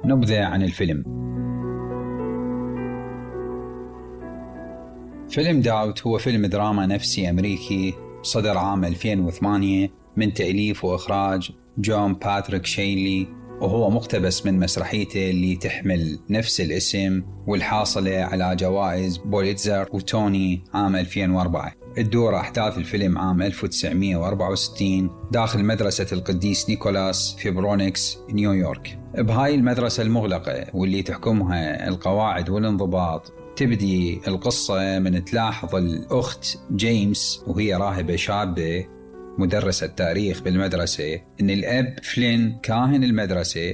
نبذة عن الفيلم. فيلم داوت هو فيلم دراما نفسي أمريكي صدر عام 2008 من تأليف وإخراج جون باتريك شينلي، وهو مقتبس من مسرحيته اللي تحمل نفس الاسم والحاصلة على جوائز بوليتزر وتوني عام 2004. تدور أحداث الفيلم عام 1964 داخل مدرسة القديس نيكولاس في برونكس نيويورك. بهاي المدرسة المغلقة واللي تحكمها القواعد والانضباط، تبدي القصة من تلاحظ الأخت جيمس وهي راهبة شابة مدرسة تاريخ بالمدرسة إن الأب فلين كاهن المدرسة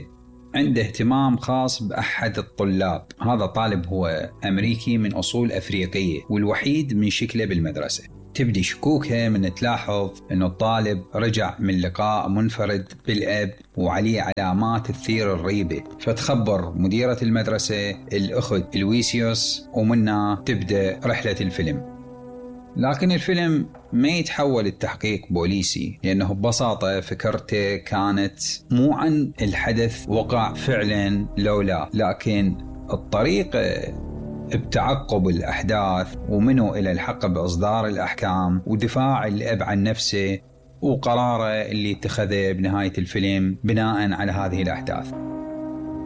عنده اهتمام خاص بأحد الطلاب. هذا طالب هو أمريكي من أصول أفريقية والوحيد من شكله بالمدرسة. تبدي شكوكها من تلاحظ إنه الطالب رجع من لقاء منفرد بالأب وعليه علامات تثير الريبة، فتخبر مديرة المدرسة الأخت لويسيوس، ومنها تبدأ رحلة الفيلم. لكن الفيلم ما يتحول التحقيق بوليسي، لأنه ببساطة فكرته كانت مو عن الحدث وقع فعلا لولا، لكن الطريقة بتعقب الأحداث ومنه إلى الحق بإصدار الأحكام ودفاع الأب عن نفسه وقراره اللي اتخذه بنهاية الفيلم بناء على هذه الأحداث.